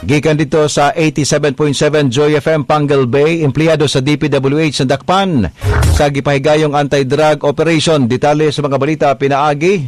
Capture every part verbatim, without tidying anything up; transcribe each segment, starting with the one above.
Gikan dito sa eighty-seven point seven Joy F M Panguil Bay, empleyado sa D P W H nadakpan sa gipahigayong anti-drug operation. Detalye sa mga balita pinaagi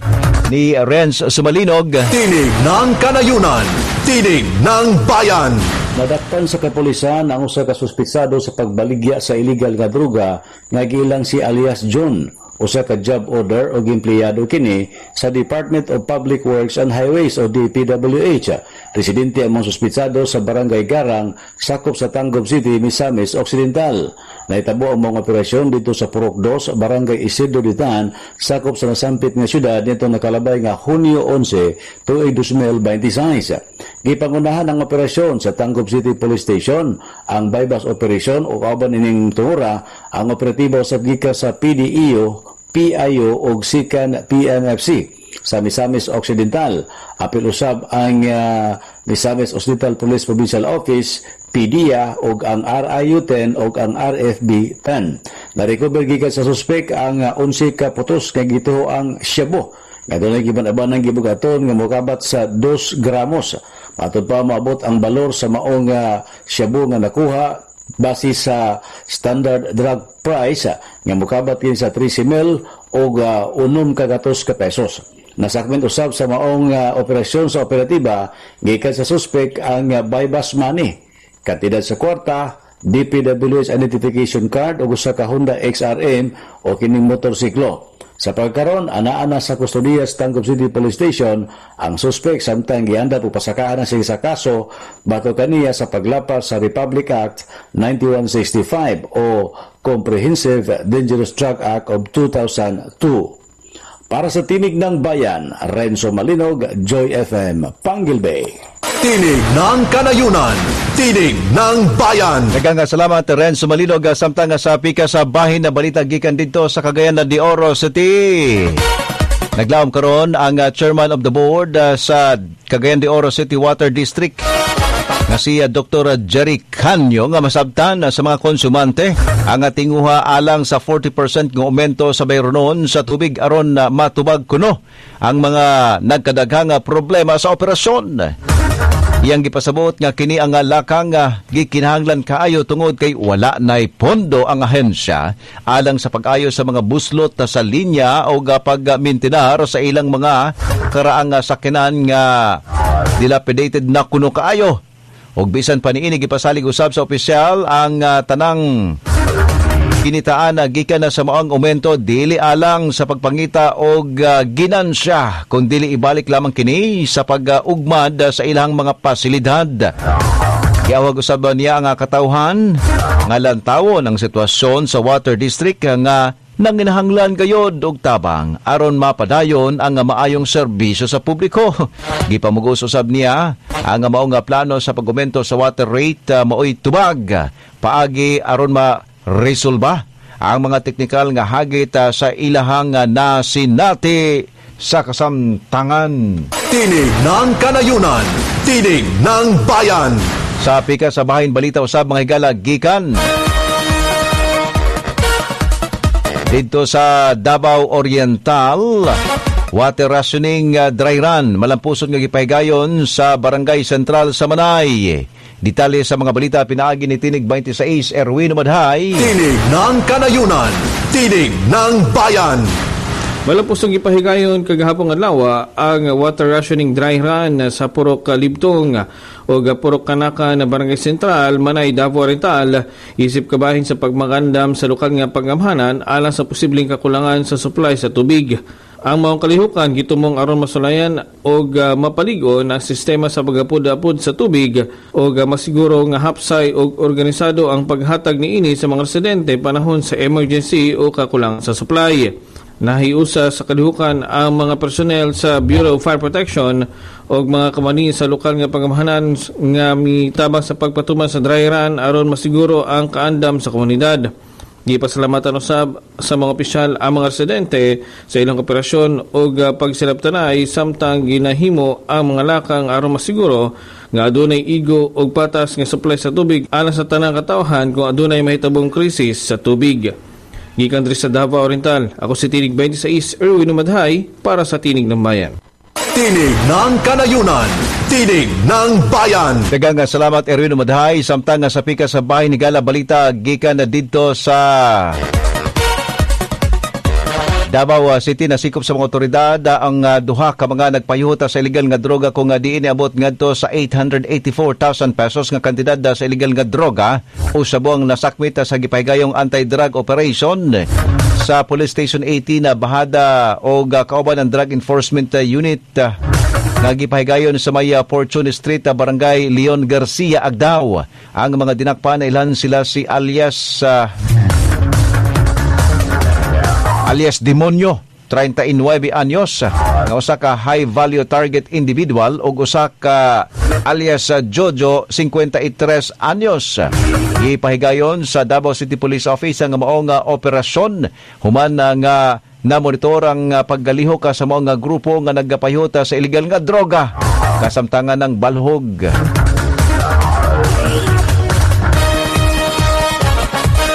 ni Renz Sumalinog. Tinig ng Kanayunan, Tinig ng Bayan. Nadakpan sa kapulisan ang usa ka suspitsado sa pagbaligya sa illegal nga droga nga giilang si alias John, usa ka job order o empleyado kini sa Department of Public Works and Highways o D P W H. Residente ang mga suspitsado sa Barangay Garang, sakop sa Tangub City, Misamis Occidental. Nahitabo ang mga operasyon dito sa Purok dos, Barangay Isidro Ditan, sakop sa nasampit nga syudad nito nakalabay nga Hunyo onse, tuig dalawang libo labing walo. Gipangunahan ang operasyon sa Tangub City Police Station, ang buy-bust operation o kauban ining tungura ang operatibo sa gikan sa P D E O, P I O ug Sikan P M F C sa Misamis Occidental. Apil usab ang uh, Misamis Occidental Police Provincial Office, P D I A ug ang R I U ten ug ang R F B ten. Narecover gikan sa suspek ang uh, onse ka putos nga gituho ang shabu nga dunay giban-abanang gibugaton nga mokabat sa dos gramos. Matud pa, moabot ang balor sa maong uh, shabu nga nakuha base sa standard drug price nga mokabat kini sa thirty mil o uh, unom ka gatos ka pesos. Nasakmen usab sa maong uh, operasyon sa operatiba gikan sa suspect ang uh, buy-bust money, kantidad sa kwarta, D P W H identification card ug usa ka Honda X R M o kining motorsiklo. Sa pagkaron, anaa na sa kustodiya sa Tangub City Police Station ang suspect samtang giandam og pasakaan na siya sa kaso batok kaniya sa paglapas sa Republic Act ninety-one sixty-five o Comprehensive Dangerous Drug Act of two thousand two. Para sa Tinig ng Bayan, Renzo Malinog, Joy F M, Panguil Bay. Tinig ng Kanayunan, Tinig ng Bayan. Daghang salamat, Renzo Malinog. Samtang sa pika sa bahin na balita gikan dito sa Cagayan de Oro City. Naglaom karon ang uh, chairman of the board uh, sa Cagayan de Oro City Water District nga si uh, Doctor Jerry Canyo nga masabtan uh, sa mga konsumante ang tinguha alang sa forty percent nga aumento sa bayronon sa tubig aron uh, matubag kuno ang mga nagkadaghang problema sa operasyon. Iyang gipasabot nga kini ang lakang nga gikinahanglan kaayo tungod kay wala nay pondo ang ahensya alang sa pag-ayo sa mga buslot sa linya o pagmintinar sa ilang mga karaang sakyanan nga dilapidated na kuno kaayo. Og bisan pa niini, gipasalig usab sa opisyal ang uh, tanang kinitaan na gikan na sa maong aumento dili alang sa pagpangita og uh, ginansya kundi ibalik lamang kini sa pag-ugmad sa ilang mga pasilidad. Giawag usab niya ang katawhan nga lantawon ang sitwasyon sa water district nga nanginahanglan gayod og tabang aron mapadayon ang maayong serbisyo sa publiko. Gipamugos usab niya ang mao nga plano sa pag-aumento sa water rate uh, maoy tubag paagi aron ma resolba ang mga teknikal nga hagit uh, sa ilahang uh, nasinati sa kasamtangan. Tinig ng Kanayunan, Tinig ng Bayan. Sa pika sa bahin balita usab, mga higala, gikan dito sa Davao Oriental, water rationing uh, dry run malampuson nga gipahigayon sa Barangay Central sa Manay. Detalye sa mga balita pinaagi ni Tinig twenty-six Erwin Madhay. Tinig ng Kanayunan, Tinig ng Bayan. Malampusong gipahigayon kagahapon adlaw ang water rationing dry run sa Purok Libtong o Purok Kanaka na Barangay Central, Manay, Davao Oriental, isip kabahin sa pagmagandam sa lokal nga pag-amhanan alang sa posibleng kakulangan sa supply sa tubig. Ang maong kalihukan gitumong aron masulayan og uh, mapaligon ang sistema sa pagapud-apud sa tubig og uh, masiguro nga hapsay og organisado ang paghatag niini sa mga residente panahon sa emergency o kakulangan sa supply. Nahiusa sa kalihukan ang mga personnel sa Bureau of Fire Protection og mga kamani sa lokal nga pangamahanan nga mitabang sa pagpatuman sa dry run aron masiguro ang kaandam sa komunidad. Gipasalamatan usab sa mga opisyal ang mga residente sa ilang kooperasyon ug uh, pagsilabtanay samtang ginahimo ang mga lakang aron masiguro nga adunay igo og patas nga supply sa tubig alang sa tanang katawhan kung adunay mahitabong krisis sa tubig. Gikan diri sa Davao Oriental, ako si Tinig twenty-six, Erwin Umadhay para sa Tinig ng Bayan. Tinig ng Kanayunan, Tinig ng Bayan. Daghang salamat, Erwin Umadhay. Samtang nga sa pika sa bahay ni Gala balita gikan na didto sa Davao City, nasikop sa mga otoridad ang uh, duha ka mga nagpayuta sa illegal nga droga kung uh, diin niabot ngadto sa eight hundred eighty-four thousand pesos nga kantidad uh, sa illegal nga droga o sabong nasakmit uh, sa gipahigayong anti-drug operation sa Police Station eighteen na bahada o uh, kauban ng Drug Enforcement uh, Unit uh, nga gipahigayon sa may uh, Fortune Street, uh, Barangay Leon Garcia, Agdao. Ang mga dinakpan, ilan sila si alias uh, alias Demonyo, treinta y nuebe anyos, nga usa ka high value target individual, ug usa ka alias Jojo, singkwenta y tres anyos. Ipahigayon sa Davao City Police Office ang maong operasyon human nga namonitor ang paggalihok sa mga grupo nga nagapayuta sa illegal nga droga kasamtangan ng balhog.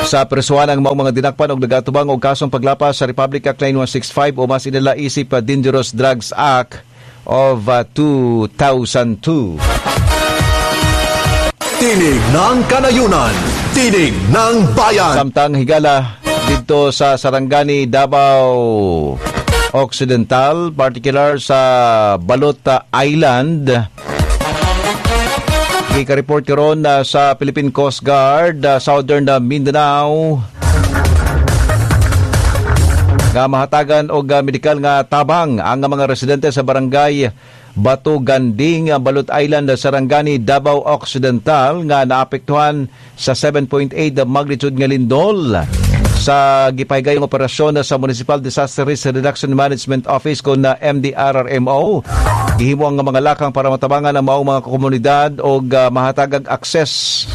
Sa presuhan ang maong mga dinakpan og nagatubang og kasong paglapas sa Republic Act nine one six five o mas inila isip uh, Dangerous Drugs Act of uh, two thousand two. Tinig ng Kanayunan, Tinig ng Bayan. Samtang, higala, dito sa Sarangani, Davao Occidental, particular sa Balot Island, Gika-report karon uh, sa Philippine Coast Guard, uh, Southern uh, Mindanao, nga mahatagan og uh, medikal nga tabang ang mga residente sa Barangay Bato Ganding, Balot Island, Sarangani, Davao Occidental nga naapektuhan sa seven point eight magnitude nga lindol. Sa gipahigayong operasyon sa Municipal Disaster Risk Reduction Management Office kon na M D R R M O, gihimo ang mga lakang para matabangan ang maong mga komunidad og uh, mahatagag access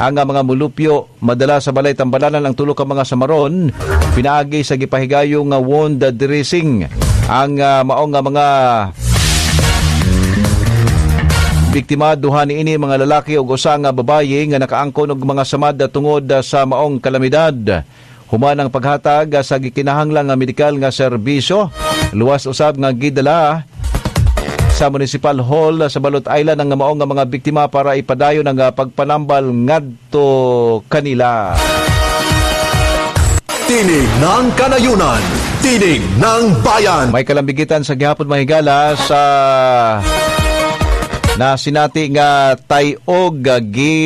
ang mga mulupyo madala sa balay tambalanan ang tulo ka mga samaron pinaagi sa gipahigayong wound dressing. Ang uh, maong nga mga biktima, duha niini mga lalaki ug usa nga babaye nga nakaangkon og mga samad tungod sa maong kalamidad. Human ang paghatag sa gikinahanglan nga medikal nga serbisyo, luwas usab nga gidala sa Municipal Hall sa Balot Island ang maong nga mga biktima para ipadayon ang pagpanambal ngadto kanila. Tinig ng Kanayunan, Tinig ng Bayan. May kalambigitan sa gihapon, mahigala, sa na sinati nga tayog, gi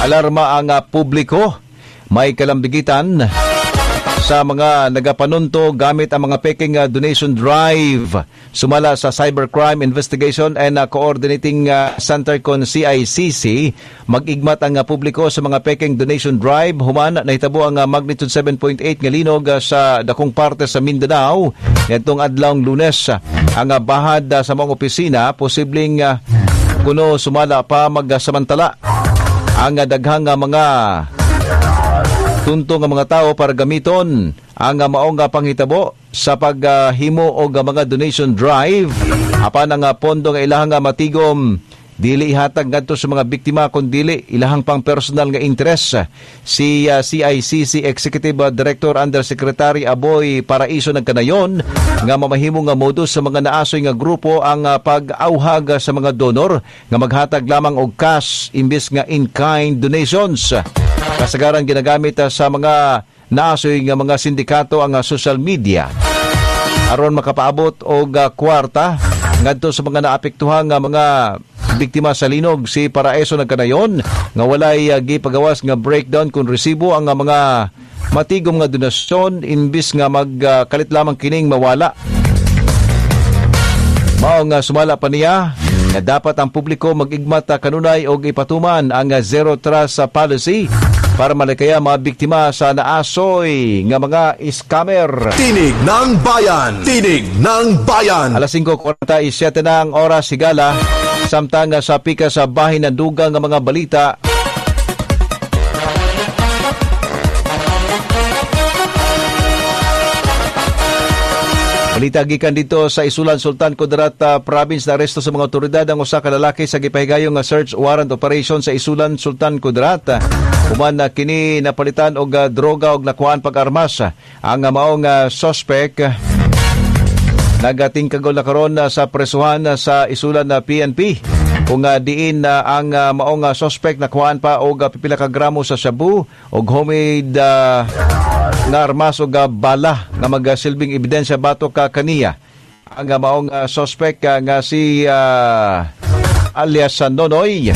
alarma ang publiko. May kalambigitan sa mga nagapanunto gamit ang mga peking donation drive. Sumala sa Cybercrime Investigation and Coordinating Center kon C I C C, mag-igmat ang publiko sa mga peking donation drive human nahitabo ang magnitude seven point eight nga linog sa dakong parte sa Mindanao ngadtong adlawng Lunes. Ang bahad sa mga opisina posibleng kuno sumala pa magsamantala ang daghang mga tunto nga mga tao para gamiton ang maong panghitabo sa paghimo og mga donation drive, apan ang pondo nga ilahang matigom dili ihatag ngadto sa mga biktima kun dili ilahang pang personal nga interes. Si uh, C I C C Executive Director Undersecretary Aboy Paraiso nagkanayon nga mamahimo nga modus sa mga naasoy nga grupo ang uh, pag-awhag sa mga donor nga maghatag lamang og cash imbes nga in-kind donations. Kasagaran ginagamit sa mga naasoy nga mga sindikato ang social media aron makapaabot og kwarta ngadto sa mga naapektuhan nga mga biktima sa linog. Si Paraeso nagkanayon nga walay uh, gipagawas nga breakdown kung resibo ang uh, mga matigom nga donasyon imbis nga magkalit uh, lamang kining mawala. Mao nga sumala pa niya nga dapat ang publiko mag-igmat kanunay og ipatuman ang zero trust policy para malikaya mga biktima sa naasoy nga mga scammer. Tinig ng Bayan! Tinig ng Bayan! Alas singko kwarenta y siyete na ang oras, higala. Samtang sa pika sa bahin ng dugang nga mga balita. Balita gikan dito sa Isulan, Sultan Kudarat uh, Province, na aresto sa mga otoridad ang usa ka lalaki sa gipahigayong nga search warrant operation sa Isulan, Sultan Kudarat. Human na kini napalitan og uh, droga og nakuhaan pag-armas. Ang uh, maong uh, suspect Nagatingkagol na karon sa presuhan sa isulan na P N P kung uh, diin uh, ang uh, maong uh, suspect nakuhaan pa og uh, pipila ka gramo sa shabu og homemade uh, nga armas og uh, bala nga magasilbing ebidensya batok ka kaniya. Ang uh, maong uh, suspect uh, nga si uh, alias Nonoy.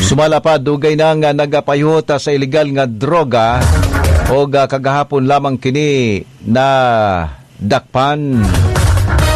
Sumala pa, dugay na nga nagapayuhot sa ilegal nga droga o kagahapon lamang kini na dakpan.